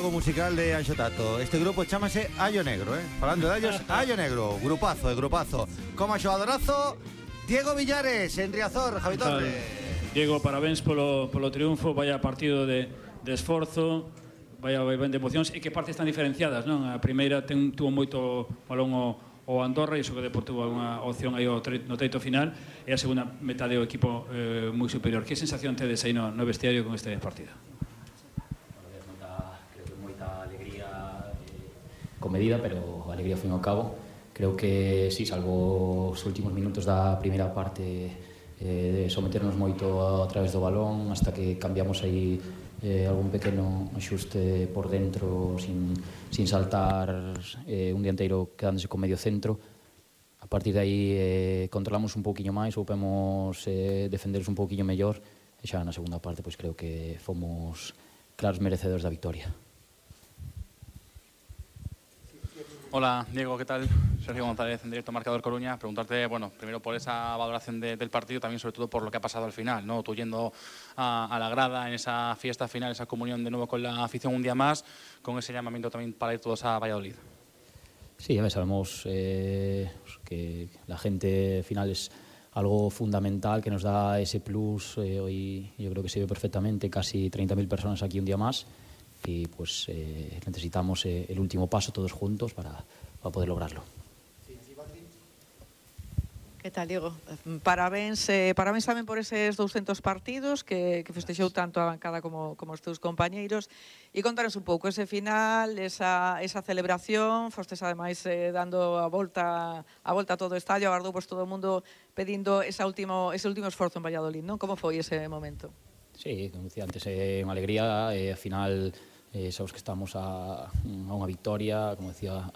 grupo musical de Anxo Tato. Este grupo chámase Allo Negro, falando de allos, Allo Negro. Grupazo. Como xogadorazo, Diego Villares, en Riazor, Javi Torres. Diego, parabéns polo triunfo. Vaya partido de esforzo, vaya ben de emocións. E que partes tan diferenciadas, non? A primeira tuvo moito balón o Andorra e iso que Deportivo tuvo unha opción aí no treito final, e a segunda metade do equipo moi superior. Que sensación tedes aí no vestiario con este partido? Creo que moita alegría comedida, pero alegría ao fin e ao cabo. Creo que sí, salvo os últimos minutos da primeira parte, de someternos moito a través do balón hasta que cambiamos aí algún pequeno axuste por dentro sin saltar, un dianteiro quedándose con medio centro. A partir de aí controlamos un pouquiño máis, soupemos defenderos un pouquiño mellor, e xa na segunda parte pois creo que fomos claros merecedores da victoria. Hola Diego, ¿qué tal? Sergio González, en directo Marcador Coruña. Preguntarte, bueno, primero por esa valoración del partido, también sobre todo por lo que ha pasado al final, ¿no? Tú yendo a la grada en esa fiesta final, esa comunión de nuevo con la afición un día más, con ese llamamiento también para ir todos a Valladolid. Sí, a ver, sabemos que la gente al final es algo fundamental que nos da ese plus. Hoy yo creo que se ve perfectamente, casi 30.000 personas aquí un día más. Y pues necesitamos el último paso todos juntos para poder lograrlo. Que tal, Diego? Parabéns tamén por eses 200 partidos que festexou tanto a bancada como os teus compañeiros. E contaros un pouco ese final, esa celebración. Fostes ademais dando a volta a todo o estadio, agardou pues todo o mundo pedindo ese último esforzo en Valladolid, non? Como foi ese momento? Sí, como decía antes, unha alegría. Al final sabemos que estamos a unha victoria, como decía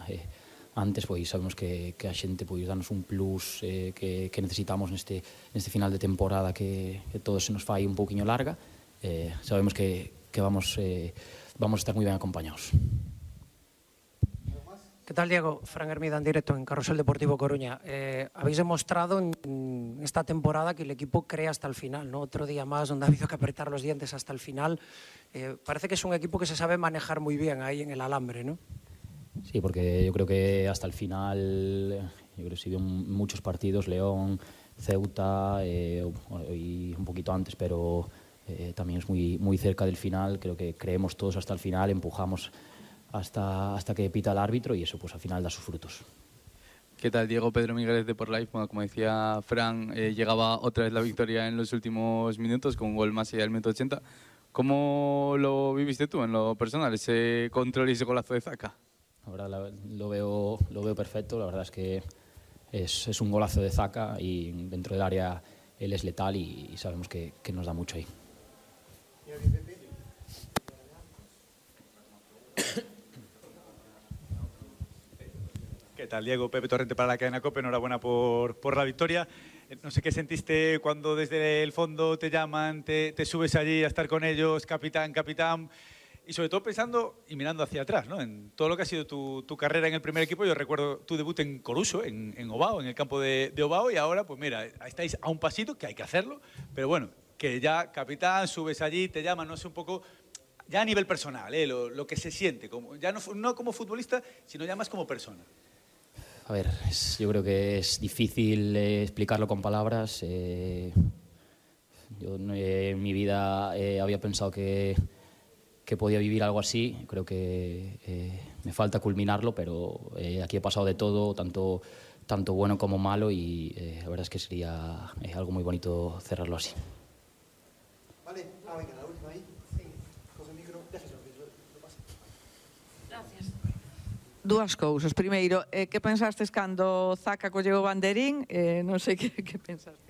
antes, pois sabemos que a xente pois danos un plus que necesitamos neste final de temporada que todo se nos fai un pouquiño larga. Sabemos que vamos a estar moi ben acompañados. ¿Qué tal, Diego? Fran Hermida en directo en Carrusel Deportivo Coruña. Habéis demostrado en esta temporada que el equipo cree hasta el final, ¿no? Otro día más donde ha habido que apretar los dientes hasta el final. Parece que es un equipo que se sabe manejar muy bien ahí en el alambre, ¿no? Sí, porque yo creo que hasta el final, yo creo que se vio muchos partidos, León, Ceuta, y un poquito antes, pero también es muy cerca del final. Creo que creemos todos hasta el final, empujamos hasta que pita el árbitro y eso pues al final da sus frutos. ¿Qué tal, Diego? Pedro Migueles de Por Life. Bueno, como decía Fran, llegaba otra vez la victoria en los últimos minutos con un gol más allá del minuto 80. ¿Cómo lo viviste tú en lo personal, ese control y ese golazo de Zaka? La verdad lo veo perfecto. La verdad es que es un golazo de Zaka y dentro del área él es letal y sabemos que nos da mucho ahí. ¿Qué tal, Diego? Pepe Torrente para la cadena COPE. Enhorabuena por la victoria. No sé qué sentiste cuando desde el fondo te llaman, te subes allí a estar con ellos, capitán, y sobre todo pensando y mirando hacia atrás, ¿no? En todo lo que ha sido tu carrera en el primer equipo. Yo recuerdo tu debut en Coruso, en Ovao, en el campo de Ovao, y ahora, pues mira, estáis a un pasito, que hay que hacerlo, pero bueno, que ya capitán, subes allí, te llaman, no sé, un poco, ya a nivel personal, lo que se siente, ya no como futbolista, sino ya más como persona. A ver, yo creo que es difícil explicarlo con palabras. Yo en mi vida había pensado que podía vivir algo así. Creo que me falta culminarlo, pero aquí he pasado de todo, tanto bueno como malo, y la verdad es que sería algo muy bonito cerrarlo así. Vale, venga, la última ahí. Sí. Coge el micro, déjese lo pasa. Gracias. Dúas cousas. Primeiro, que pensastes cando Zaka colleu o banderín? Non sei que pensastes.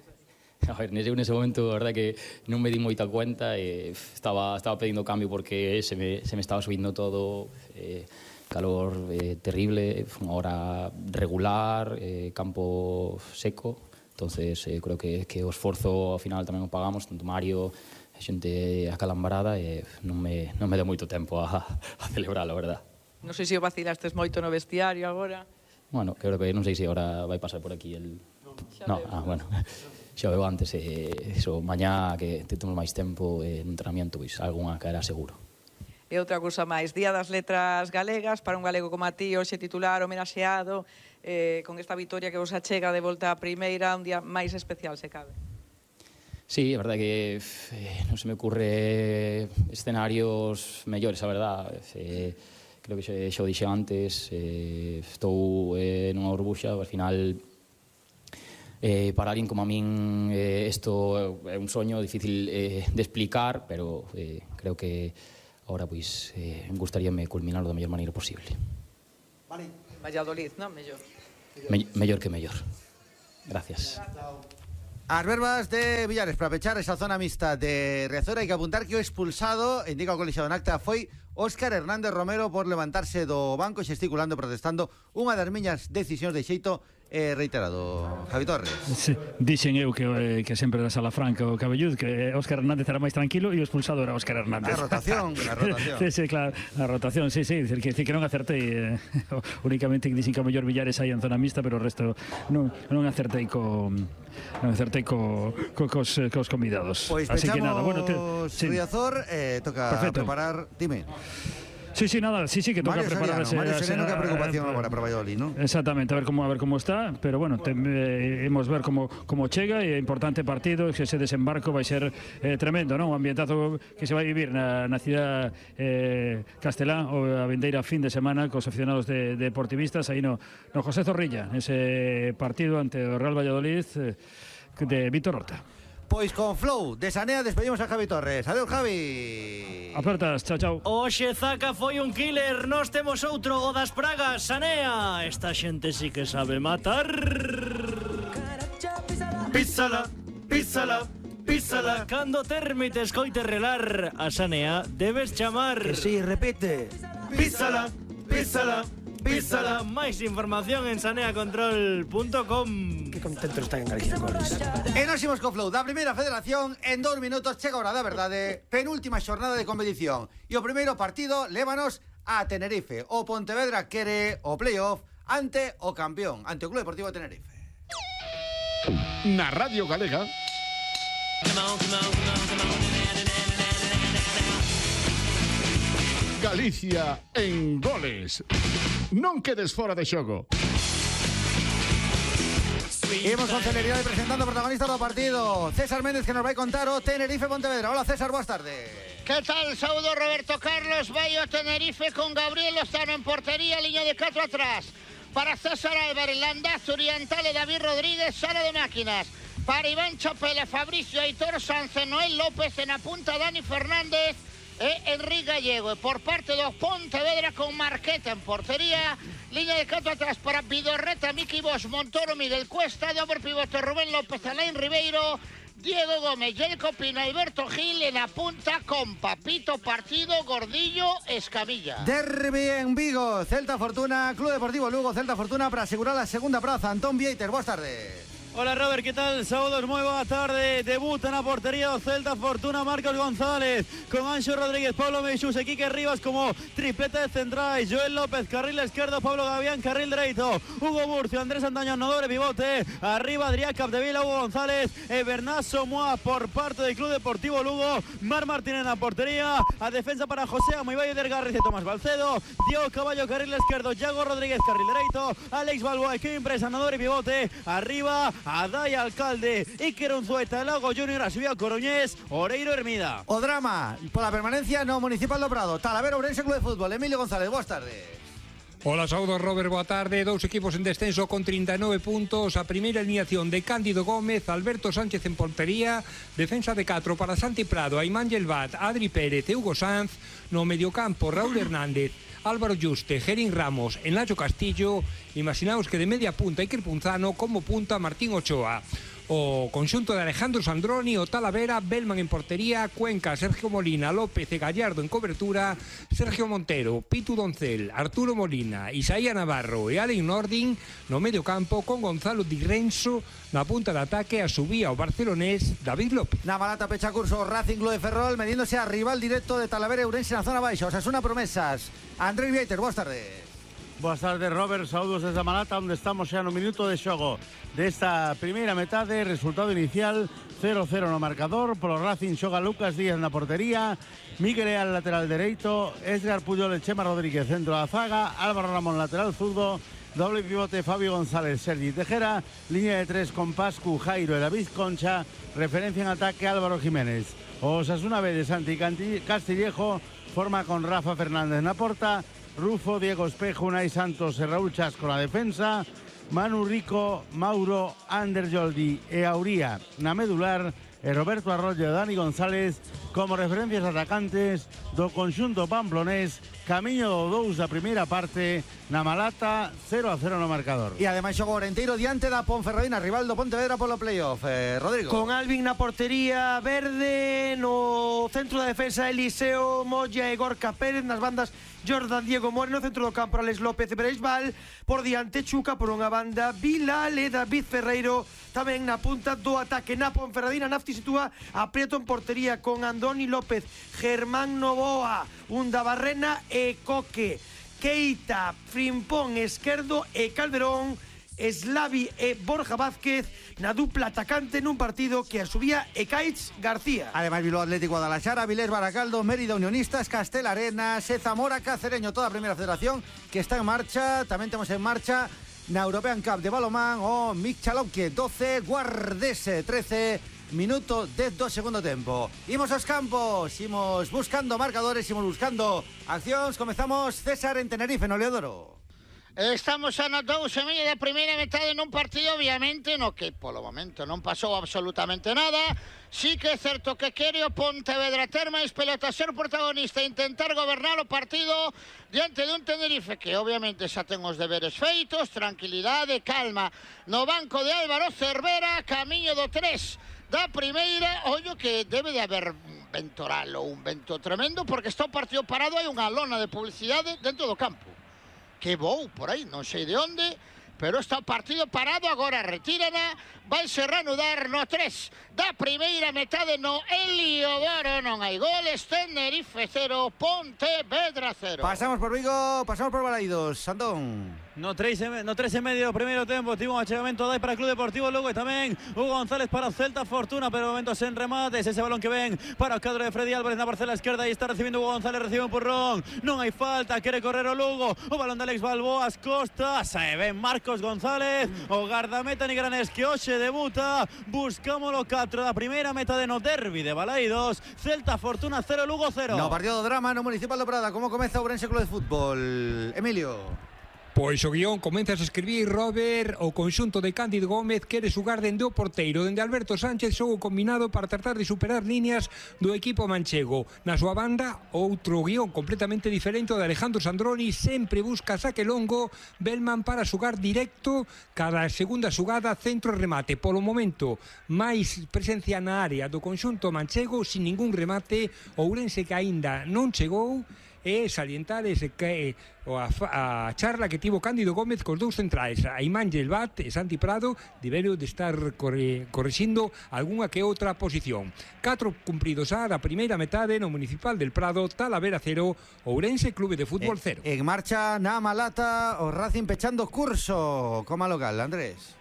A ver, nese momento, a verdad que non me di moita cuenta. Estaba pedindo cambio porque se me estaba subindo todo. Calor terrible, unha hora regular, campo seco. Entonces, creo que o esforzo ao final tamén o pagamos, tanto Mario, a xente acalambrada, e non me deu moito tempo a celebrar, a verdad. Non sei se o vacilastes moito no vestiario agora. Bueno, creo que non sei se agora vai pasar por aquí el... No, bueno, xa veo antes, mañá que temos máis tempo en entrenamiento, pois algunha caerá seguro. E outra cousa máis, Día das Letras Galegas, para un galego como a ti, hoxe titular, homenaxeado, con esta vitoria que vos achega de volta a primeira, un día máis especial, se cabe. Sí, é verdade que non se me ocurre escenarios mellores, a verdade. Creo que xa o dixe antes, estou nunha burbuxa, ao final para alguén como a min isto é un soño difícil de explicar, pero creo que agora pois gustaríame culminarlo da mellor maneira posible. Vale. Valladolid, non? Mellor. Mellor que mellor. Gracias. As verbas de Villares para pechar esa zona mixta de Riazor. Hai que apuntar que o expulsado, indica o colexiado en acta, foi Óscar Hernández Romero por levantarse do banco xesticulando e protestando unha das miñas decisións de xeito reiterado. Javi Torres. Sí, dixen eu que sempre era Sala Franca o Cabellud, que Óscar Hernández era máis tranquilo e o expulsado era Óscar Hernández. A rotación. Sí, claro, a rotación, sí, dicir que non acertei, únicamente que dixen que o mellor Villares hai en zona mixta, pero o resto non acertei cos convidados. Pois así pechamos que nada, bueno, Riazor, toca perfecto. Preparar, dime. Sí, nada, sí, que toca preparar Mario Sereno, que preocupación agora para Valladolid, ¿no? Exactamente, a ver como está, pero bueno, imos ver como chega, e importante partido, que ese desembarco vai ser tremendo, non? O ambientazo que se vai vivir na cidade castelá, o a vindeira fin de semana cos aficionados de deportivistas aí no José Zorrilla, ese partido ante o Real Valladolid de Víctor Horta. Pois con Flow de Sanea despedimos a Javi Torres. Adiós, Javi. Apertas, chao. Oxe, Zaca foi un killer. Nós temos outro, o das pragas, Sanea. Esta xente sí que sabe matar. Písala. Cando termite escoite relar a Sanea, debes chamar. Que sí, repite. Písala. Máis información en saneacontrol.com. Que contento está en Galicia Goles. E nos imos co Flow da Primeira Federación. En 2 minutos chega a hora da verdade. Penúltima xornada de competición. E o primeiro partido lévanos a Tenerife. O Pontevedra quere o playoff ante o campeón, ante o Club Deportivo Tenerife. Na Radio Galega. Galicia en goles. Non quedes fora de xogo. Imos con celeridade presentando o protagonista do partido, César Méndez, que nos vai contar o Tenerife Pontevedra. Hola César, boas tardes. Que tal? Saúdo Roberto Carlos. Vai o Tenerife con Gabriel Lozano en portería, liña de 4 atrás. Para César Álvarez, Landaz, Orientale, David Rodríguez, sala de máquinas. Para Iván Chapela, Fabricio, Aitor Sanz, Noel López, en a punta Dani Fernández e Enrique Gallego. E por parte do Pontevedra con Marqueta en portería, liña de 4 atrás para Vidorreta, Miki Bosch, Montoro, Miguel Cuesta, doble pivote Rubén López, Alain Ribeiro, Diego Gómez, Jelko Pino, Alberto Gil en la punta con Papito Partido, Gordillo, Escamilla. Derbi en Vigo, Celta Fortuna, Club Deportivo Lugo, Celta Fortuna para asegurar la segunda praza. Antón Vieiter, boas tardes. Hola Robert, ¿qué tal? Saúdos, moi boa tarde. Debuta na portería do Celta Fortuna Marcos González con Anxo Rodríguez, Pablo Meixús e Quique Rivas como triplete de centrais. Joel López, carril esquerdo, Pablo Gavián, carril dereito. Hugo Murcio, Andrés Antaño, doble pivote. Arriba Adrián Capdevila, Hugo González e Bernat Somoa por parte del Club Deportivo Lugo. Mar Martínez na portería. A defensa para José Amoibayo del Garriz e Tomás Balcedo. Diego Caballo, carril esquerdo. Yago Rodríguez, carril dereito. Alex Balboa e Kevin Presa, doble pivote. Arriba Adai Alcalde, Iker Unzueta, Lago Junior, Asubia Coruñés, Oreiro Hermida. O drama pola permanencia no Municipal do Prado. Talavera Ourense Club de Fútbol. Emilio González, boas tardes. Hola, saúdos Robert, boa tarde. 2 equipos en descenso con 39 puntos. A primeira alineación de Cándido Gómez, Alberto Sánchez en portería, defensa de 4 para Santi Prado, Aimán Yelvat, Adri Pérez e Hugo Sanz. No mediocampo, Raúl Hernández, Álvaro Yuste, Gerín Ramos e Nacho Castillo. Imaginaos que de media punta Iker Punzano, como punta Martín Ochoa. O conxunto de Alejandro Sandroni, o Talavera, Belman en portería, Cuenca, Sergio Molina, López e Gallardo en cobertura, Sergio Montero, Pitu Doncel, Arturo Molina, Isaía Navarro e Alen Nordin no medio campo, con Gonzalo Di Renzo na punta de ataque. A subía o barcelonés David López. Na Malata pecha curso Racing Club de Ferrol, mediéndose a rival directo de Talavera Ourense na zona baixa. Osasuna Promesas. Andrés Vieiter, boas tardes. Boas tardes, Robert, saúdos desde a Malata, onde estamos xa no minuto de xogo desta primeira metade. Resultado inicial 0-0 no marcador. Polo Racing xoga Lucas Díaz na portería, Miguel Leal lateral dereito, Edgar Puyol e Chema Rodríguez centro da zaga, Álvaro Ramón lateral zurdo, doble pivote Fabio González, Sergi Tejera, línea de tres con Pascu, Jairo e David Concha, referencia en ataque Álvaro Jiménez. Osasuna B de Santi Castillejo forma con Rafa Fernández na porta, Rufo, Diego Espejo, Unai Santos e Raúl Chasco na defensa, Manu Rico, Mauro, Ander Joldi e Auría na medular e Roberto Arroyo e Dani González como referencias atacantes do conxunto pamplonés. Camiño do 2 da primeira parte na Malata, 0-0 no marcador. E ademais xogo Orenteiro diante da Ponferradina, rival do Pontevedra polo playoff. Rodrigo. Con Alvin na portería verde, no centro da defensa Eliseo Moya e Gorka Pérez, nas bandas Jordan Diego Moreno, centro do campo Alex López e Breisbal, por diante Chuca, por unha banda Vilal e David Ferreiro, tamén na punta do ataque. Na Ponferradina, Nafti sitúa a Prieto en portería con Andoni López, Germán Novoa, Unda Barrena e Coque, Keita, Frimpón esquerdo e Calderón, Slavi e Borja Vázquez na dupla atacante nun partido que asubía Ekaitz García. Además, Bilbao Atlético Guadalajara, Vilés Baracaldo, Mérida Unionistas, Castel Arenas, Zamora, Cacereño, toda a primeira federación que está en marcha. Tamén temos en marcha na European Cup de balonmán o Michalonque 12, Guardese 13, minuto 10 do segundo tempo. Imos aos campos, imos buscando marcadores, imos buscando accións. Comezamos, César, en Tenerife, no Leodoro. Estamos a 2:30 da primeira metade nun partido, obviamente, no que polo momento non pasou absolutamente nada. Sí que é certo que quere o Pontevedra ter máis pelota, ser protagonista, intentar gobernar o partido diante dun Tenerife que obviamente xa ten os deberes feitos, tranquilidade, calma no banco de Álvaro Cervera, camiño do 3 da primeira. Ollo que debe de haber ventoral ou un vento tremendo, porque está o partido parado, hai unha lona de publicidade dentro do campo que vou por aí, non sei de onde, pero está o partido parado, agora retírana, vaise reanudar no 3 da primeira metade no Heliodoro. Non hai goles, Tenerife 0, Pontevedra 0. Pasamos por Vigo, pasamos por Balaidos, Santón. No 3 e medio primeiro tempo, tivo un achegamento dai para Club Deportivo Lugo e tamén Hugo González para o Celta Fortuna, pero momentos en remates, ese balón que ven para o cadro de Freddy Álvarez na parcela esquerda e está recibindo Hugo González, recibe un purrón, non hai falta, quere correr o Lugo, o balón de Alex Balboa ás costas, e ven Marcos González, o gardameta nigranés que hoxe debuta. Buscámoslo 4 da primeira metade no derbi de Balaidos, Celta Fortuna 0, Lugo 0. No partido do drama no Municipal do Prada, como comeza o Ourense Club de Fútbol, Emilio? Pois o guión comenzas a escribir, Robert. O conxunto de Cándido Gómez quere xugar dende o porteiro, dende Alberto Sánchez, xogo combinado para tratar de superar líneas do equipo manchego. Na súa banda, outro guión completamente diferente, o de Alejandro Sandroni, sempre busca saque longo, Bellman para xugar directo, cada segunda xugada centro remate. Polo momento, máis presencia na área do conxunto manchego, sin ningún remate, Ourense que aínda non chegou. E salientar ese que a charla que tivo Cándido Gómez cos dous centrais, a Imán Gelbat e Santi Prado, deberon de estar correxindo algunha que outra posición. 4 cumpridos a da primeira metade no Municipal del Prado, Talavera 0, Ourense Clube de Fútbol 0. En marcha na Malata, o Racing pechando curso como local, Andrés.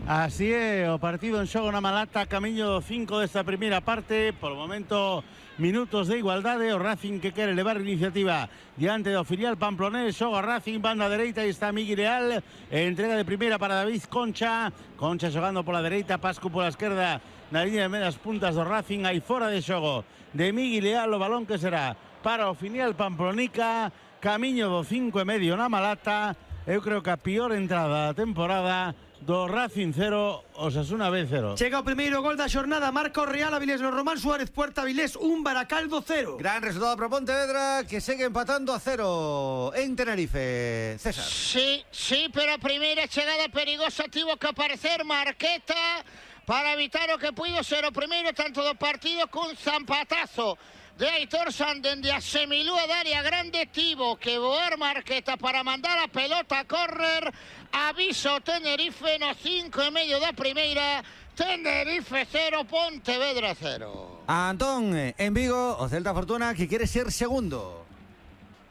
Así é, o partido en xogo na Malata, camiño do 5 desta primeira parte. Por o momento, minutos de igualdade, o Racing que quere levar iniciativa diante do filial pamplonés. Xoga Racing, banda dereita, e está Miguel Leal, entrega de primeira para David Concha, Concha xogando pola dereita, Pascu pola esquerda na liña de medias puntas do Racing. Hai fora de xogo de Miguel Leal, o balón que será para o filial pamplonica, camiño do 5 e medio na Malata. Eu creo que a pior entrada da temporada do Racing 0, Osasuna B 0. Chega o primeiro gol da xornada, marca o Real Avilés no Román Suárez, Puerta Avilés 1, Baracaldo 0. Gran resultado para Pontevedra, que segue empatando a 0 en Tenerife. César. Sí, pero a primeira chegada perigosa tivo que aparecer Marqueta para evitar o que puido ser o primeiro tanto do partido, cun zampatazo de Aitor San dende a semilúa da área grande. Tivo que voar Marqueta para mandar a pelota a córrer. Aviso Tenerife no 5 e medio da primeira. Tenerife 0, Pontevedra 0. Antón, en Vigo, o Celta Fortuna que quere ser segundo.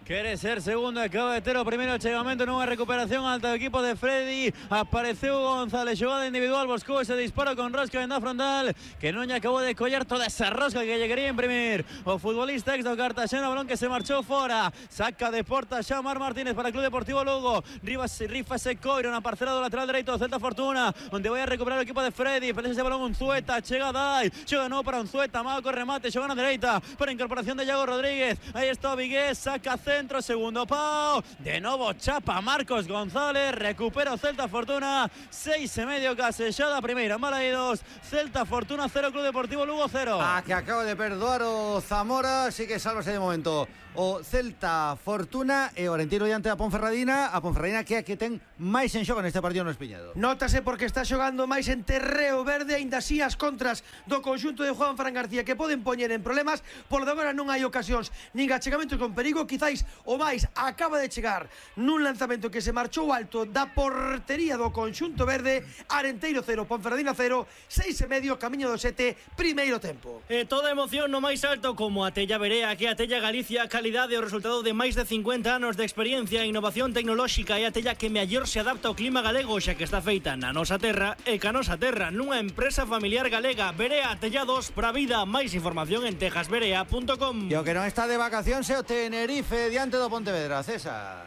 Quere ser segundo, acaba de ter o primeiro chegamento nunha recuperación alta do equipo de Freddy. Apareceu González, xogada individual, buscou ese disparo con rosca en da frontal, que non lle acabou de coller toda esa rosca que lle quería imprimir o futbolista ex do Cartaxena, balón que se marchou fora. Saca de porta Xamar Martínez para o Club Deportivo Lugo. Rifa ese coiro na parcela do lateral dereito do Celta Fortuna, onde vai a recuperar o equipo de Freddy. Pelea ese balón Unzueta, chega Dai, xoga non para Unzueta, mago co remate, xoga na dereita para a incorporación de Iago Rodríguez. Aí está o Vigués, saca centro, segundo pau, de novo chapa Marcos González, recupera o Celta Fortuna, 6,5 casellada, primeira Malaídos, Celta Fortuna 0, Club Deportivo Lugo 0. Que acaba de perdoar o Zamora, sí que salvase de momento o Celta Fortuna e o Orentino diante da Ponferradina, a Ponferradina que é a que ten máis en xogo neste partido no Espiñedo. Nótase porque está xogando máis en terreo verde, aínda así as contras do conxunto de Juan Fran García que poden poñer en problemas, por de agora non hai ocasións nin achegamentos con perigo. Quizáis o máis acaba de chegar nun lanzamento que se marchou alto da portería do conxunto verde. Arenteiro 0, Ponferradina 0, 6,5, camiño do 7, primeiro tempo. Toda emoción no máis alto como a Tella Berea, que a Tella Galicia, calidade e o resultado de máis de 50 anos de experiencia e innovación tecnolóxica, e a Tella que mellor se adapta ao clima galego, xa que está feita na nosa terra e ca nosa terra nunha empresa familiar galega. Berea Tellados para a vida. Máis información en tejasberea.com. E o que non está de vacacións é o Tenerife diante do Pontevedra, César.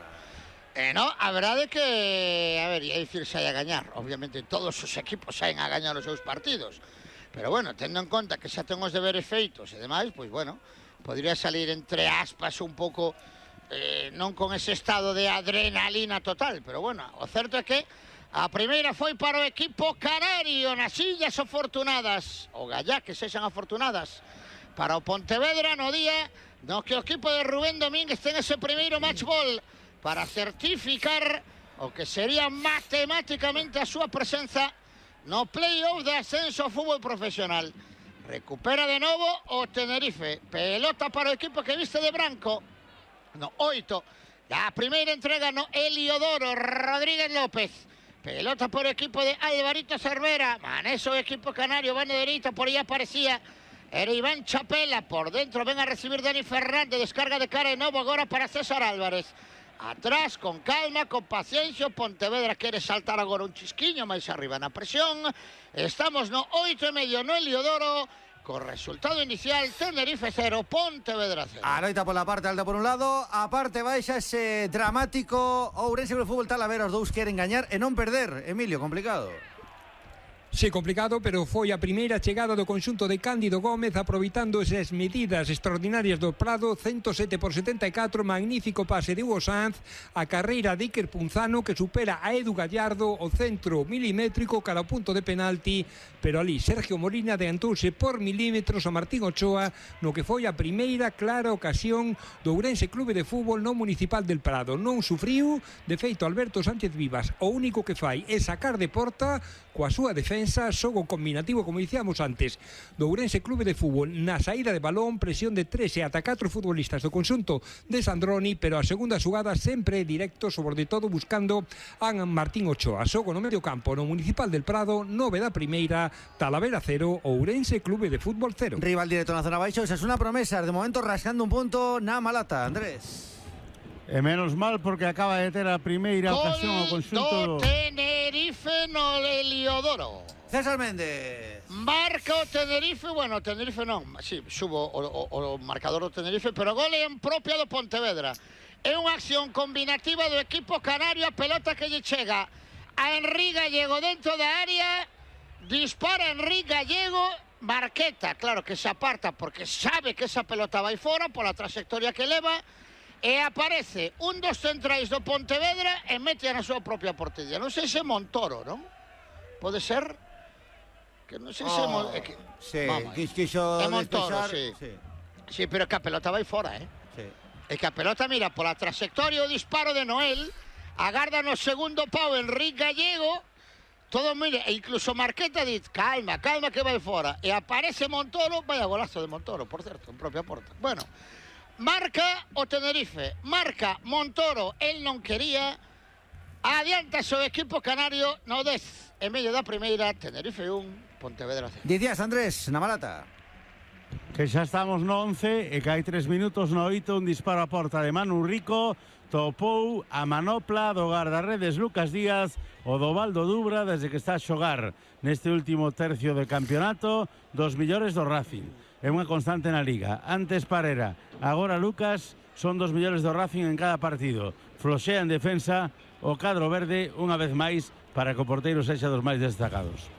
No, a verdade que, a ver, é dicir, sai a gañar. Obviamente todos os equipos saen a gañar os seus partidos. Pero bueno, tendo en conta que xa ten os deberes feitos e demais, pois bueno, podría salir entre aspas un pouco, non con ese estado de adrenalina total, pero bueno, o certo é que a primeira foi para o equipo canario nas Illas Afortunadas, o Gallá que sexan afortunadas, para o Pontevedra no día no que o equipo de Rubén Domínguez ten ese primeiro match ball para certificar o que sería matemáticamente a súa presenza no play-off de ascenso ao fútbol profesional. Recupera de novo o Tenerife, pelota para o equipo que viste de branco, no 8, a primeira entrega no Heliodoro Rodríguez López, pelota por o equipo de Alvarito Cervera, maneso o equipo canario, van de dereita, por aí aparecía era Iván Chapela, por dentro ven a recibir Dani Fernández, descarga de cara de novo agora para César Álvarez. Atrás, con calma, con paciencia, Pontevedra quere saltar agora un chisquiño máis arriba na presión. Estamos no 8,5 no Heliodoro, con resultado inicial Tenerife 0, Pontevedra 0. A loita pola parte alta por un lado, a parte baixa ese dramático Ourense Club de Fútbol Talavera, os dous queren gañar e non perder. Emilio, complicado. Sí, complicado, pero foi a primeira chegada do conxunto de Cándido Gómez aproveitando esas medidas extraordinarias do Prado, 107 por 74, magnífico pase de Hugo Sanz, a carreira de Iker Punzano que supera a Edu Gallardo, o centro milimétrico cara ao punto de penalti, pero ali Sergio Molina adiantouse por milímetros a Martín Ochoa no que foi a primeira clara ocasión do Ourense Clube de Fútbol no Municipal del Prado. Non sufriu, de feito Alberto Sánchez Vivas o único que fai é sacar de porta coa súa defensa, xogo combinativo, como dicíamos antes, do Ourense Clube de Fútbol na saída de balón, presión de 3 e ata 4 futbolistas do conxunto de Sandroni, pero a segunda xugada sempre directo, sobre todo buscando a Martín Ochoa. Xogo no medio campo no Municipal del Prado, 9 da primeira, Talavera 0, Ourense Clube de Fútbol 0. Rival directo na zona baixo, esa é unha promesa, de momento rascando un punto na Malata, Andrés. E menos mal porque acaba de ter a primeira ocasión ao conxunto do Tenerife no Heliodoro. César Méndez. Marca o Tenerife, bueno, o Tenerife non, si, subo o marcador do Tenerife, pero gol en propia do Pontevedra. É unha acción combinativa do equipo canario, a pelota que lle chega a Henry Gallego dentro da área, dispara Henry Gallego, Marqueta, claro que se aparta porque sabe que esa pelota vai fora pola trayectoria que leva, e aparece un dos centrais do Pontevedra e mete na súa propia portería. Non sei se Montoro, non? Pode ser? Que non sei se... Sí, quixo Montoro, sí. Sí, pero que a pelota vai fora, Sí. E que a pelota, mira, pola trayectoria o disparo de Noel, agarda no segundo pau Enrique Gallego, todo, mire, e incluso Marqueta dit, calma, que vai fora. E aparece Montoro, vaya golazo de Montoro, por certo, en propia porta. Bueno, marca o Tenerife, marca Montoro, el non quería, adianta o equipo canario no 10, en medio da primeira, Tenerife 1, Pontevedra 0. Dicías, Andrés, na Malata. Que xa estamos no 11 e que hai 3 minutos no 8, un disparo a porta de Manu Rico, topou a manopla do guardarredes Lucas Díaz, o do Valdo Dubra, desde que está a xogar neste último tercio de campeonato, dos millores do Racing. É unha constante na Liga. Antes Parera, agora Lucas, son dos millores do Racing en cada partido. Floxea en defensa o cadro verde unha vez máis para que o porteiro sexa dos máis destacados.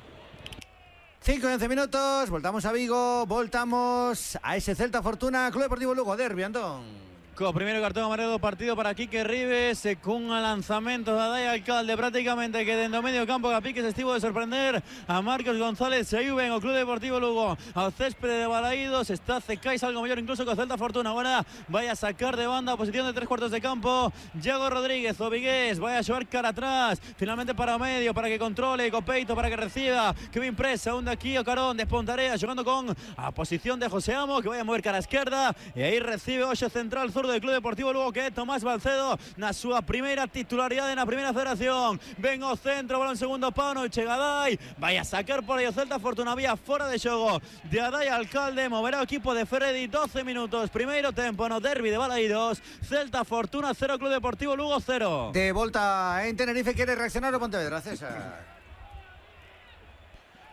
5 y 11 minutos, voltamos a Vigo, voltamos a ese Celta Fortuna, Club Deportivo Lugo, derbi, Antón. Co primeiro cartón amarelo do partido para Quique Rives, cun lanzamento da Dai Alcalde prácticamente que dentro do medio campo a Pique se estivo de sorprender a Marcos González. Saiu ben o Club Deportivo Lugo ao céspede de Balaídos, está Cecais algo mellor incluso que o Celta Fortuna. Agora vai a sacar de banda a posición de 3/4 de campo Iago Rodríguez, o vigués vai a xogar cara atrás, finalmente para o medio, para que controle, co peito para que reciba Kevin Presa, un daqui o carón de Espontarea xogando con a posición de José Amo, que vai a mover cara a esquerda e aí recibe o central zurdo del Club Deportivo Lugo, que é Tomás Balcedo na súa primeira titularidade na primeira federación. Ven o centro, balón segundo pau, non chega Dai, vai a sacar por aí o Celta Fortuna, vía fora de xogo de Adai Alcalde, moverá o equipo de Freddy. 12 minutos, primeiro tempo no derbi de Balaídos, Celta Fortuna 0, Club Deportivo Lugo 0. De volta en Tenerife, quere reaccionar o Pontevedra, César?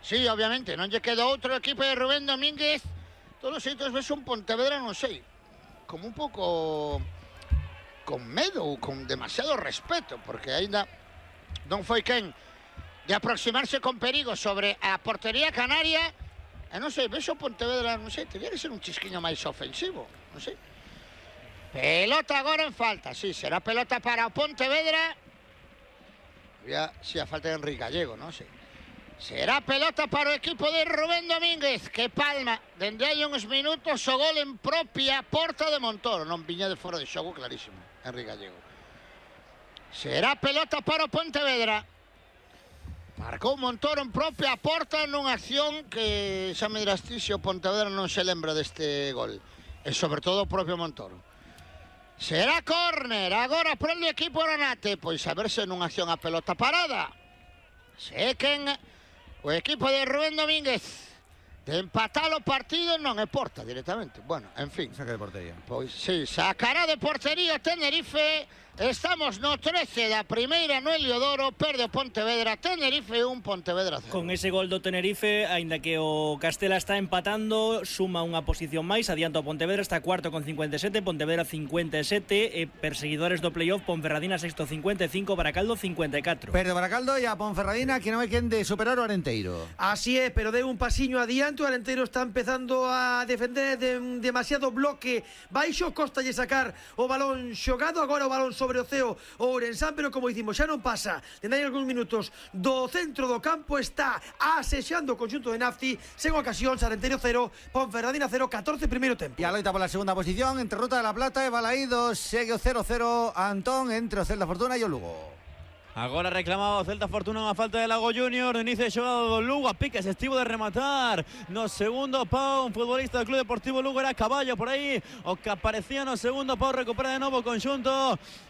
Sí, obviamente, non lle queda outro equipo de Rubén Domínguez. Todos os xeitos ves un Pontevedra, non sei, como un pouco con medo ou con demasiado respeto, porque ainda non foi quen de aproximarse con perigo sobre a portería canaria. E non sei, ves o Pontevedra, non sei, teria que ser un chisquiño máis ofensivo, non sei. Pelota agora en falta, sí, será pelota para o Pontevedra. Había, sí, a falta de Enrique Gallego, non sei. Será pelota para o equipo de Rubén Domínguez, que palma dende hai uns minutos o gol en propia porta de Montoro. Non viña de fora de xogo, clarísimo, Enrique Gallego. Será pelota para o Pontevedra. Marcou Montoro en propia porta nunha acción que xa me dirás ti se o Pontevedra non se lembra deste gol. E sobre todo o propio Montoro. Será córner, agora para o equipo Granate. Pois a verse nunha acción a pelota parada. Se quen o equipo de Rubén Domínguez de empatar o partido non é porta directamente. Bueno, en fin. Saca de portería. Pois sí, sacará de portería o Tenerife. Estamos no 13 da primeira no Heliodoro, perde o Pontevedra, Tenerife 1, Pontevedra 0. Con ese gol do Tenerife, aínda que o Castela está empatando, suma unha posición máis, adianta o Pontevedra, está cuarto con 57, Pontevedra 57, e perseguidores do playoff, Ponferradina sexto 55, Baracaldo 54. Perde Baracaldo e a Ponferradina, que non hai quen de superar o Arenteiro. Así é, pero deu un pasiño adiante, o Arenteiro está empezando a defender demasiado bloque baixo, costa lle sacar o balón xogado, agora o balón sobre o ceo o Ourensán, pero como dicimos, xa non pasa dende hai algúns minutos do centro do campo, está asexando o conxunto de Nafti, sen ocasións, Arenteiro 0, Ponferradina 0, 14 primeiro tempo. E a loita pola segunda posición entre Ruta de la Plata e Balaídos, segue o 0-0 Antón entre o Celta Fortuna e o Lugo. Agora reclamaba o Celta Fortuna unha falta de Lago Junior, no inicio de xogado do Lugo, a pique se estivo de rematar no segundo pau, un futbolista do Club Deportivo Lugo, era Caballo por aí, o que aparecía no segundo pau, recupera de novo o conxunto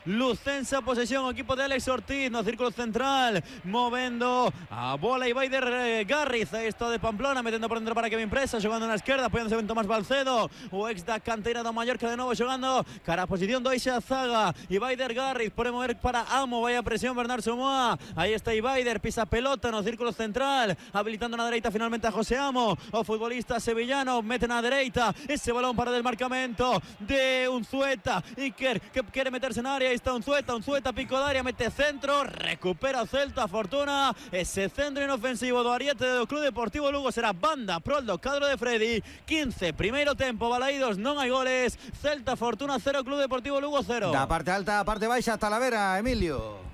lucense, a posesión o equipo de Alex Ortiz no círculo central, movendo a bola e Baider Garriz, aí está de Pamplona, metendo por dentro para Kevin Presa, xogando na esquerda, apoiándose ben Tomás Balcedo, o ex da canteira do Mallorca de novo xogando cara a posición do Ixa Zaga, e Baider Garriz pode mover para Amo, vai a presión Bernardo Somoa, aí está Ibaider, pisa pelota no círculo central, habilitando na dereita finalmente a José Amo, o futbolista sevillano mete na dereita, ese balón para del marcamento de Unzueta, Iker que quere meterse na área, aí está Unzueta pico de área, mete centro, recupera o Celta Fortuna, ese centro inofensivo do Ariete do Club Deportivo Lugo será banda pro do cadro de Freddy. 15, primeiro tempo, Balaídos non hai goles, Celta Fortuna 0, Club Deportivo Lugo 0. Da parte alta a parte baixa, Talavera, Emilio.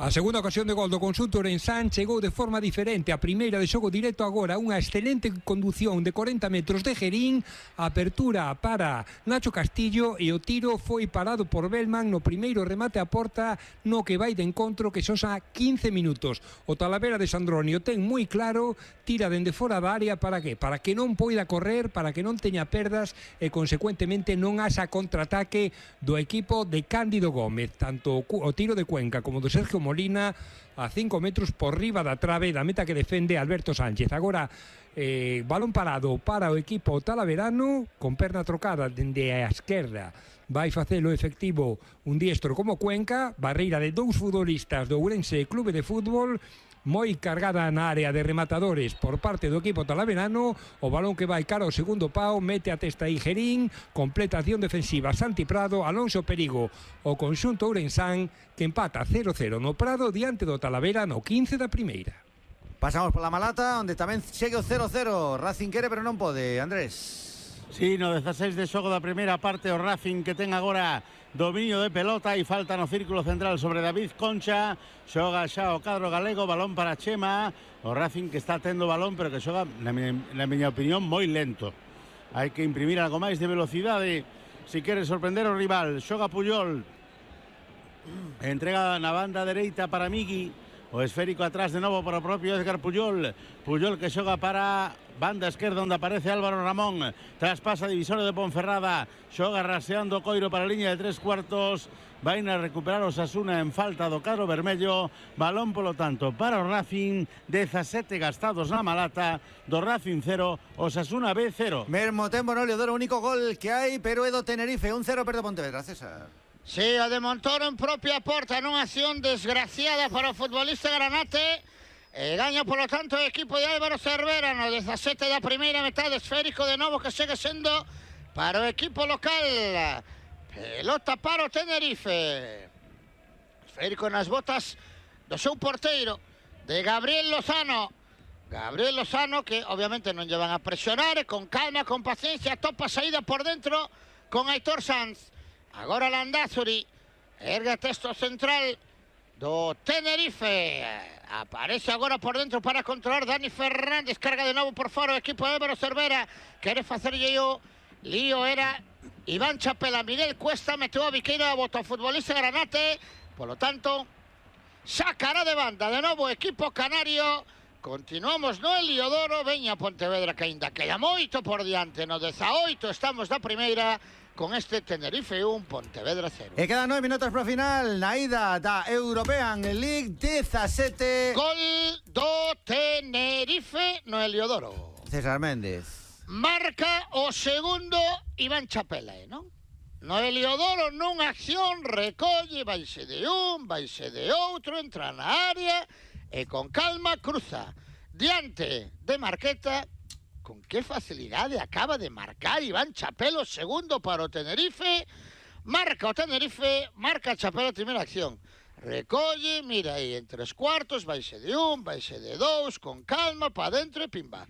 A segunda ocasión de gol do conxunto Ourensán chegou de forma diferente. A primeira de xogo directo, agora unha excelente condución de 40 metros de Gerín, apertura para Nacho Castillo e o tiro foi parado por Bellman no primeiro remate a porta no que vai de encontro, que son xa 15 minutos. O Talavera de Sandroni o ten moi claro, tira dende fora da área, para que? Para que non poida correr, para que non teña perdas e consecuentemente non haxa contraataque do equipo de Cándido Gómez. Tanto o tiro de Cuenca como do Sergio Molina a 5 metros por riba da trave da meta que defende Alberto Sánchez. Agora balón parado para o equipo talaverano, con perna trocada dende a esquerda. Vai facelo efectivo un diestro como Cuenca, barreira de 2 futbolistas do Ourense Clube de Fútbol, moi cargada na área de rematadores por parte do equipo talaverano. O balón que vai cara ao segundo pau, mete a testa aí Gerín, completa acción defensiva Santi Prado, Alonso Perigo, o conxunto ourensán que empata 0-0 no Prado diante do Talavera no 15 da primeira. Pasamos por la Malata, onde tamén segue o 0-0. Racing quere, pero non pode. Andrés. Sí, no 16 de xogo da primeira parte, o Racing que ten agora dominio de pelota e falta no círculo central sobre David Concha. Xoga xa o cadro galego, balón para Chema. O Racing que está tendo balón, pero que xoga, na miña opinión, moi lento. Hai que imprimir algo máis de velocidade se quere sorprender o rival. Xoga Puyol, entrega na banda dereita para Migui. O esférico atrás de novo para o propio Edgar Puyol. Puyol que xoga para banda esquerda onde aparece Álvaro Ramón. Traspasa divisorio de Ponferrada. Xoga raseando Coiro para a liña de 3/4. Vai a recuperar o Osasuna en falta do cadro vermello. Balón polo tanto para o Racing. 17 gastados na Malata. Do Racing 0, Osasuna B 0. Mesmo tempo no Leodoro, único gol que hai, pero é do Tenerife. 1-0 perde Pontevedra, César. Sí, o de Montoro en propia porta nunha acción desgraciada para o futbolista granate. Gaña, polo tanto, o equipo de Álvaro Cervera no 17 da primeira metade. Esférico de novo que segue sendo para o equipo local. Pelota para o Tenerife. Esférico nas botas do seu porteiro, de Gabriel Lozano. Gabriel Lozano que obviamente non lle van a presionar, e con calma, con paciencia, topa saída por dentro con Aitor Sanz. Agora Landázuri, ergue texto central do Tenerife. Aparece agora por dentro para controlar Dani Fernández. Carga de novo por fora o equipo de Álvaro Cervera. Quere facerlle o lío, era Iván Chapela. Miguel Cuesta meteu a biqueira, bota o futbolista granate. Polo tanto, sacará de banda de novo o equipo canario. Continuamos no Heliodoro. Veña Pontevedra que ainda queda moito por diante. No 18 estamos da primeira, con este Tenerife 1, Pontevedra 0. E quedan 9 minutos para o final na ida da European League 17. Gol do Tenerife no Heliodoro. César Méndez. Marca o segundo Iván Chapela, non? No Heliodoro nunha acción recolle, vaise de un, vaise de outro, entra na área e con calma cruza diante de Marqueta. Con qué facilidade acaba de marcar Iván Chapela, segundo para o Tenerife. Marca o Tenerife, marca Chapela a primeira acción. Recolle, mira aí, en 3/4, vaise de un, vaise de dous, con calma, pa dentro e pimba.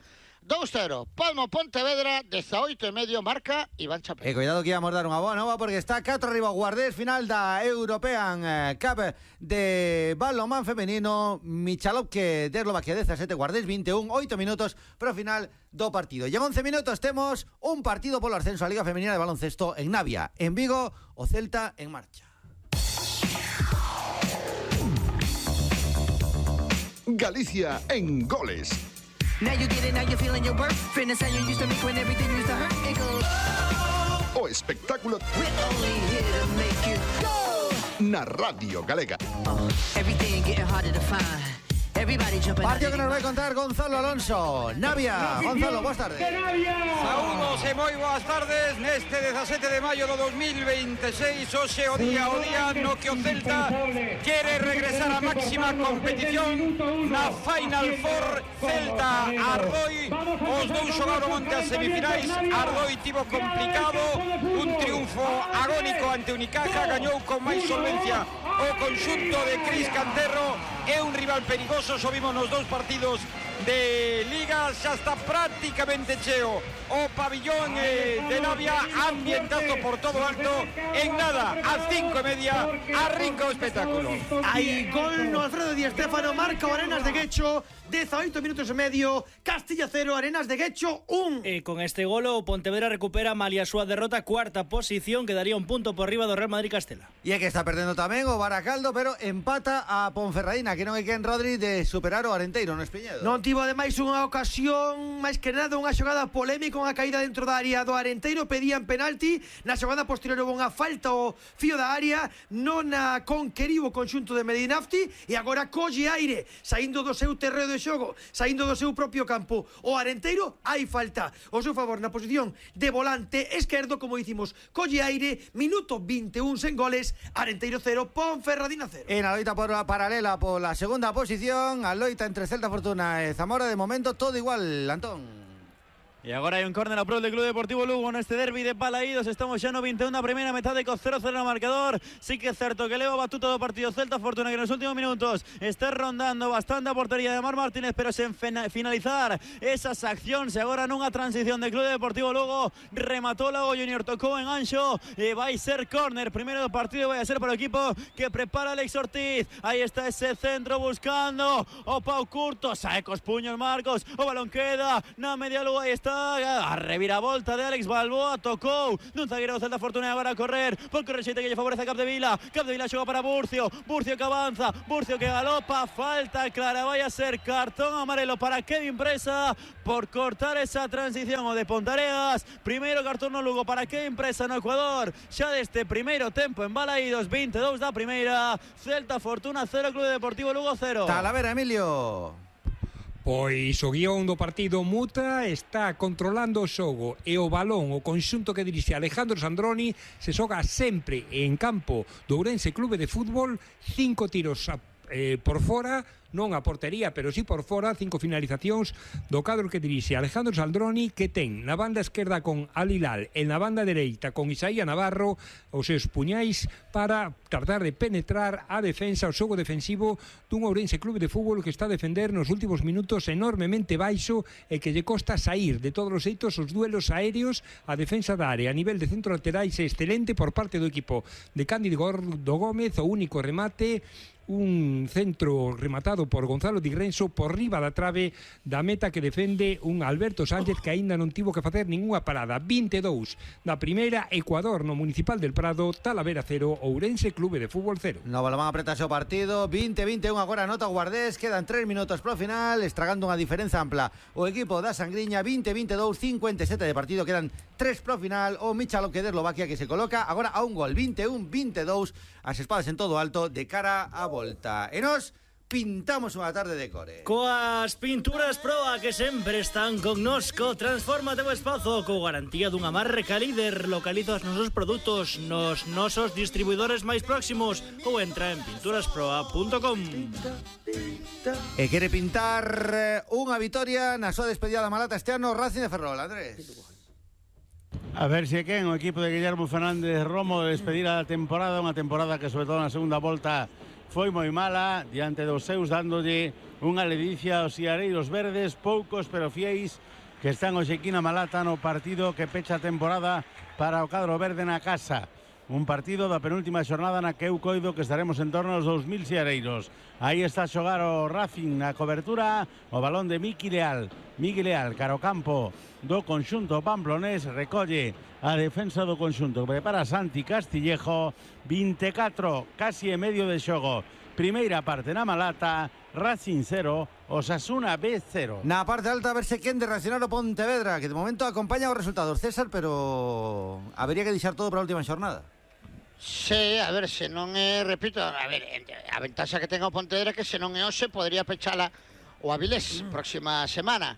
2-0, Palmo Pontevedra, 18,5, marca Iván Chapela. E cuidado que íamos dar unha boa nova, porque está 4 arriba o Guardés, final da European Cup de balonmán femenino. Michalovke de Eslovaquia 17, Guardés 21, 8 minutos para o final do partido. E en 11 minutos temos un partido polo ascenso a Liga Femenina de Baloncesto en Navia. En Vigo, o Celta en marcha. Galicia en goles. Now you get it, now you're feeling your worth. Fitness how you used to make when everything used to hurt. It goes. O espectáculo. We're only here to make you go. Na Radio Galega. Everything getting harder to find. Everybody jumping. Partido que nos vai contar Gonzalo Alonso. Navia. Gonzalo, boas tardes. Saúdos e moi boas tardes neste 17 de maio do 2026. Hoxe o día no que o Celta quere regresar á máxima competición na Final Four. Celta Ardoi, os dous xogaron onte as semifinais. Ardoi tivo complicado, un triunfo agónico ante Unicaja, gañou con máis solvencia o conxunto de Cris Canterro. É un rival perigoso, xo vimos nos dous partidos de Liga. Xa está prácticamente cheo o pabillón de Navia, ambientazo por todo alto. En nada, ás 5:30 arrinca o espectáculo. Hai gol no Alfredo Di Stéfano, marca o Arenas de Guecho, 18 minutos e medio, Castilla 0, Arenas de Guecho 1. E con este gol o Pontevedra recupera malia súa derrota, cuarta posición, quedaría un punto por riba do Real Madrid Castela. E é que está perdendo tamén o Baracaldo, pero empata a Ponferradina, que non hai quen Rodri de superar o Arenteiro no Espiñedo. Non tivo tivo ademais unha ocasión, máis que nada unha xogada polémica, unha caída dentro da área do Arenteiro, pedían penalti, na xogada posterior houve unha falta ao fío da área, non a conqueriu o conxunto de Medinafti e agora colle aire, saindo do seu terreo de xogo, saindo do seu propio campo. O Arenteiro hai falta ao seu favor na posición de volante esquerdo, como dicimos, colle aire, minuto 21 sen goles, Arenteiro 0, Ponferradina 0. En a loita por a paralela pola segunda posición, a loita entre Celta Fortuna e Zamora, de momento todo igual, Antón. E agora hai un córner a prol do Club Deportivo Lugo neste derbi de Balaídos. Estamos xa no 21 da primeira metade co 0-0 no marcador. Sí que é certo que leva a batuta do partido Celta Fortuna, que nos últimos minutos está rondando bastante a portería de Mar Martínez, pero sen finalizar esas accións. E agora nunha transición de Club Deportivo Lugo rematou Lago Junior, tocou en Anxo e vai ser córner. Primeiro do partido vai a ser para o equipo que prepara Alex Ortiz. Aí está ese centro buscando o Pau Curto, sae cos puños Marcos, o balón queda na media lúa. Aí está a reviravolta de Alex Balboa, tocou dun zagueiro do Celta Fortuna, agora a correr por correxeite que lle favorece a Capdevila xoga para Burcio que avanza, Burcio que galopa, falta clara, vai a ser cartón amarelo para Kevin Presa por cortar esa transición o de Pontareas. Primeiro cartón no Lugo para Kevin Presa no Ecuador, xa deste primeiro tempo en Balaídos, 22 da primeira. Celta Fortuna 0, Club Deportivo Lugo 0. Talavera, Emilio. Pois o guión do partido muta, está controlando o xogo e o balón, o conxunto que dirixe Alejandro Sandroni, se xoga sempre en campo do Ourense Clube de Fútbol, 5 tiros por fora, non a portería, pero sí por fora, 5 finalizacións do cadro que dirixe Alejandro Sandroni, que ten na banda esquerda con Alilal e na banda dereita con Isaía Navarro os seus puñais para tratar de penetrar a defensa, o xogo defensivo dun Ourense Clube de Fútbol que está a defender nos últimos minutos enormemente baixo e que lle costa sair de todos os xeitos os duelos aéreos. A defensa da área a nivel de centro laterais é excelente por parte do equipo de Cándido Gómez, o único remate, un centro rematado por Gonzalo Di Renzo por riba da trave da meta que defende un Alberto Sánchez que aínda non tivo que facer ningunha parada. 22 da primeira, Ecuador no Municipal del Prado, Talavera 0, Ourense Clube de Fútbol 0. No balón apretarse o partido, 20-21 agora nota o Guardés, quedan 3 minutos pro final, estragando unha diferenza ampla o equipo da Sangriña, 20-22, 57 de partido, quedan 3 pro final, o Michalov de Eslovaquia que se coloca agora a un gol, 21-22, as espadas en todo alto de cara a volta. E nos pintamos unha tarde de core. Coas pinturas Proa que sempre están connosco, transfórmate o espazo co garantía dunha marca líder. Localiza os nosos produtos nos nosos distribuidores máis próximos ou entra en pinturasproa.com. E quere pintar unha vitoria na súa despedida da Malata este ano Racing de Ferrol, Andrés. A ver se quen o equipo de Guillermo Fernández Romo de despedir a temporada, unha temporada que sobre todo na segunda volta foi moi mala diante dos seus, dándolle unha ledicia aos iareiros verdes, poucos pero fieis que están hoxe aquí na Malata no partido que pecha a temporada para o cadro verde na casa. Un partido da penúltima xornada na que eu coido que estaremos en torno aos 2000 xeareiros. Aí está a xogar o Racing na cobertura, o balón de Miki Leal. Miki Leal, cara ao campo do conxunto pamplonés, recolle a defensa do conxunto. Prepara Santi Castillejo, 24, casi e medio de xogo. Primeira parte na Malata, Racing 0, Osasuna B 0. Na parte alta a verse quen de reaccionar o Pontevedra, que de momento acompaña os resultados, César, pero habería que deixar todo para a última xornada. Sí, a ver, se non é, repito, a ver, a ventaxa que tenga o Pontevedra é que se non é hoxe podría pechala o Avilés próxima semana.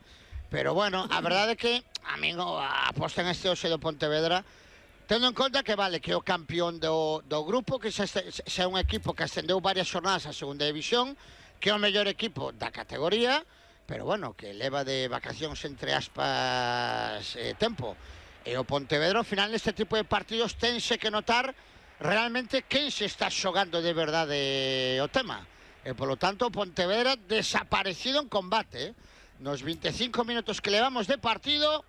Pero bueno, a verdade é que a min a aposta en este hoxe do Pontevedra, tendo en conta que vale que o campeón do grupo, que xa é un equipo que ascendeu varias xornadas a segunda división, que é o mellor equipo da categoría, pero bueno, que leva de vacacións entre aspas tempo. E o Pontevedra, ao final, neste tipo de partidos tense que notar realmente quen se está xogando de verdade o tema. E polo tanto, o Pontevedra desaparecido en combate. Nos 25 minutos que levamos de partido,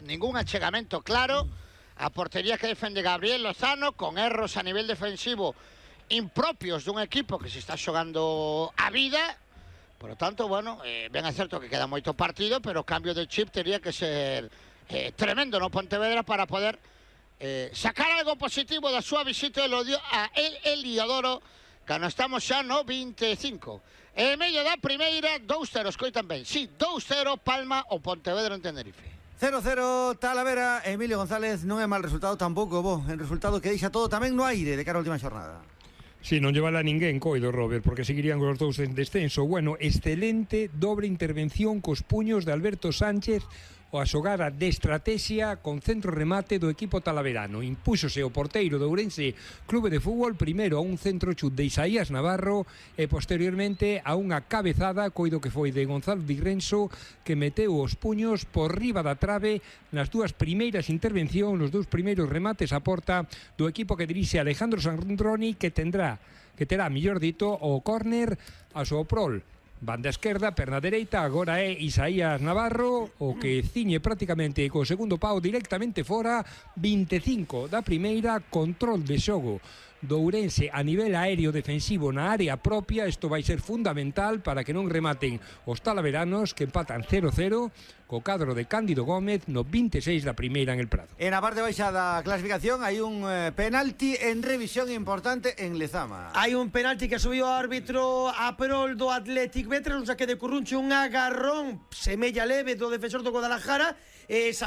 ningún achegamento claro. A portería que defende Gabriel Lozano, con erros a nivel defensivo impropios dun equipo que se está xogando a vida. Por lo tanto, bueno, ben é certo que queda moito partido, pero o cambio de chip tería que ser tremendo no Pontevedra para poder sacar algo positivo da súa visita a Heliodoro cando estamos xa no 25. E medio da primeira, 2-0, escoitan ben. Sí, 2-0 Palma o Pontevedra en Tenerife. 0-0 Talavera, Emilio González, non é mal resultado tampouco, en resultado que deixa todo tamén no aire de cara á última xornada. Si, non llevala ninguén, coido, Robert, porque seguirían os dous en descenso. Bueno, excelente dobre intervención cos puños de Alberto Sánchez, a xogada de estrategia con centro remate do equipo talaverano. Impúxose o porteiro do Ourense Clube de Fútbol primeiro a un centro chut de Isaías Navarro e posteriormente a unha cabezada, coido que foi de Gonzalo Di Renzo, que meteu os puños por riba da trave nas dúas primeiras intervencións, nos dous primeiros remates a porta do equipo que dirixe Alejandro Sandroni, que terá, mellor dito, o córner a Soprol. Banda esquerda, perna dereita, agora é Isaías Navarro, o que ciñe prácticamente co segundo pau directamente fora. 25 da primeira, control de xogo do Ourense a nivel aéreo defensivo na área propia. Isto vai ser fundamental para que non rematen os talaveranos, que empatan 0-0 co cadro de Cándido Gómez no 26 da primeira en el Prado. En a parte baixa da clasificación hai un penalti en revisión importante en Lezama. Hai un penalti que subiu o árbitro a prol do Athletic B, tras un saque de Curruncho, un agarrón semella leve do defensor do Guadalajara.